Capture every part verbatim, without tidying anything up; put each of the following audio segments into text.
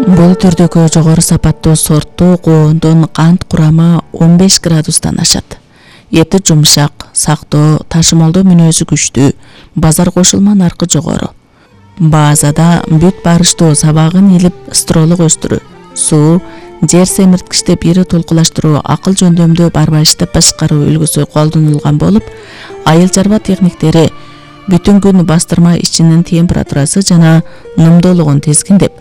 Бул түрдөгү жогору сапаттуу сорттуу коондун кант курамы он беш градустан ашат. Эти жумшак, сактоо, ташымалдоо мүнөзү күчтүү, базар кошулма наркы жогору. Базада бүт барыштуу сабагын илип стролук өстүрүү, суу, жер семирткичте бири толкулаштыруу, акыл жөндөмдүү барбайыштап башкаруу үлгүсү колдонулган болуп, айыл чарба техниктери бүтүн күн бастырма ичинин температурасы жана нымдуулугун тизгиндеп,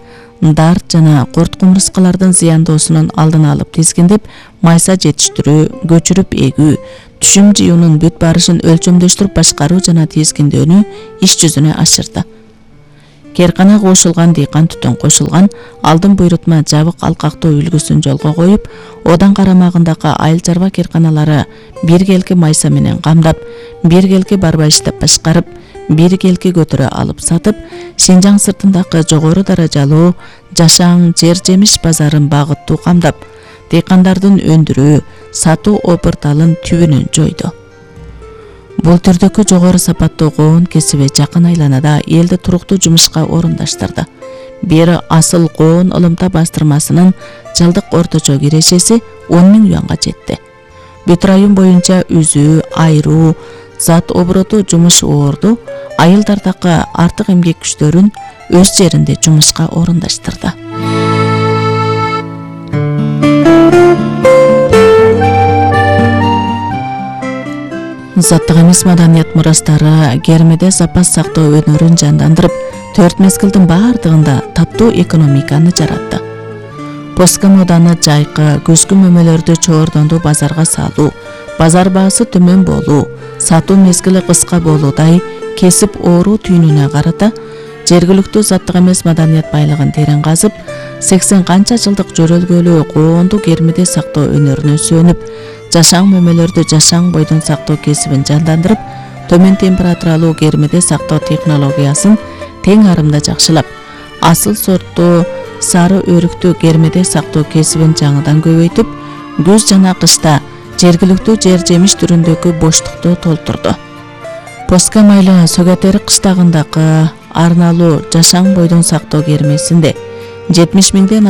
дарт жана курт кумурскалардын зыяндоосунун алдын алып тизгиндеп, майса жетиштирүү, көчүрүп эгүү, түшүм жыюунун бүт барышын өлчөмдөштүрүп башкаруу жана тизгиндөөнү иш жүзүнө ашырды. Керкана кошулган, дыйкан түтөн кошулган, алдын буйрутма жабык алкактоо үлгүсүн жолго коюп, одан карамагындагы айыл чарба керканалары бир келки майса менен камдап, бир келки барбайыштап башкарып, бир келки көтөрө алып сатып, Шинжаң сыртындагы жогору даражалуу жашаң жер жемиш базарын багыттуу камдап, дыйкандардын өндүрүү, сатуу обурталын түбүнөн жойду. Бул түрдөгү жогору сапаттуу коон кесиби жакын айланада элди туруктуу жумушка орундаштырды. Бери асыл коон ылымта бастырмасынын жылдык орточо кирешеси он миң юанга жетти. Бүт район боюнча үзүү, айруу, зат обороту жумуш оорду, айылдардагы артык эмгек күчтөрүн өз жеринде жумушка орундаштырды. Заттык эмес маданият мурастары кермеде запас сактоо өнөрүн жандандырып, төрт мезгилдин баардыгында таптуу экономиканы жаратты. Поска моданы жайкы, күзгү мөмөлөрдү чоордонду базарга салуу, базар баасы төмөн болуу, сатуу мезгили кыска болуудай кесип оору түйүнүнө карата жергиликтүү заттык эмес маданият байлыгын терең казып, сексен канча жылдык жөрөлгөлүү коонду кермеде сактоо өнөрүнө сүйөнүп, жашаң мөмөлөрдү жашаң бойдон сактоо кесибин жандандырып, төмөн температуралуу кермеде сактоо технологиясын тең арымда жакшылап, асыл сорттуу сары өрүктүү кермеде сактоо кесибин жаңыдан көбөйтүп, күз жана кышта жергиликтүү жер жемиш түрүндөгү боштукту толтурду. Поска майлы Сөгөтери кыштагындагы арналуу жашаң бойдон сактоо кермесинде жетимиш миңден